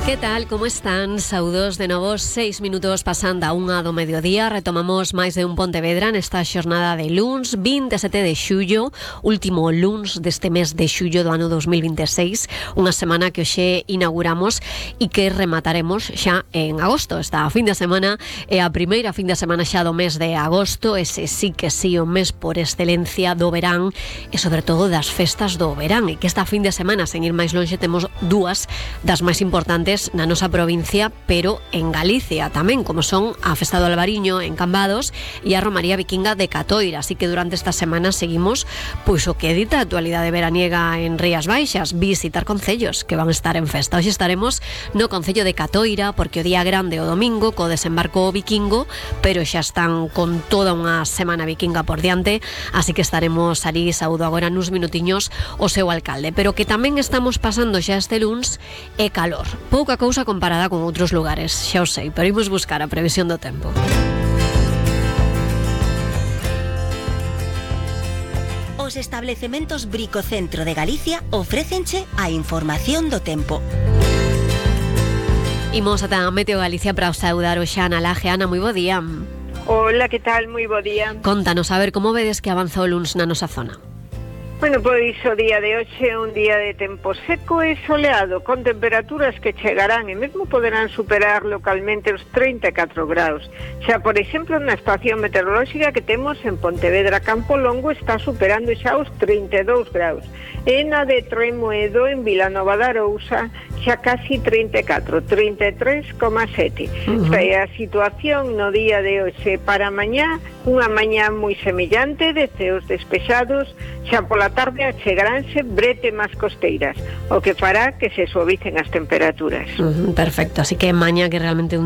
Que tal, como están? Saudos de novo, 6 minutos pasando a 1 do mediodía. Retomamos máis de un Pontevedra nesta xornada de luns 27 de xullo, último luns deste mes de xullo do ano 2026, unha semana que hoxe inauguramos e que remataremos xa en agosto. Esta fin de semana é a primeira fin de semana xa do mes de agosto, ese sí que sí o mes por excelencia do verán e sobre todo das festas do verán, e que esta fin de semana, sen ir máis longe, temos dúas das máis importantes na nosa provincia, pero en Galicia tamén, como son a Festa do Albariño en Cambados e a Romaría Vikinga de Catoira. Así que durante esta semana seguimos pois o que edita a actualidade veraniega en Rías Baixas, visitar concellos que van a estar en festa. Hoxe estaremos no concello de Catoira, porque o día grande o domingo co desembarco vikingo, pero xa están con toda unha semana vikinga por diante, así que estaremos ali. Saúdo agora nuns minutiños o seu alcalde, pero que tamén estamos pasando xa este luns é calor. Pouca cousa comparada con outros lugares, xa o sei, pero imos buscar a previsión do tempo. Os establecementos Bricocentro de Galicia ofrécenche a información do tempo. Imos ata Meteo Galicia para saudar o xa Ana Laje. Ana, moi bo día. Hola, que tal? Moi bo día. Contanos, a ver, como vedes que avanza o luns na nosa zona? Bueno, pois o día de hoxe é un día de tempo seco e soleado, con temperaturas que chegarán e mesmo poderán superar localmente os 34 graus. Xa, por exemplo, na estación meteorolóxica que temos en Pontevedra Campo Longo está superando xa os 32 graus. E na de Tremoedo, en Vilanova de Arousa, xa casi 34, 33,7. Esta é a situación no día de hoxe. Para mañá, unha mañá moi semellante, de ceos despexados, xa pola tarde achegaránse bretemas costeiras, o que fará que se suavicen as temperaturas. Perfecto, así que mañá que realmente un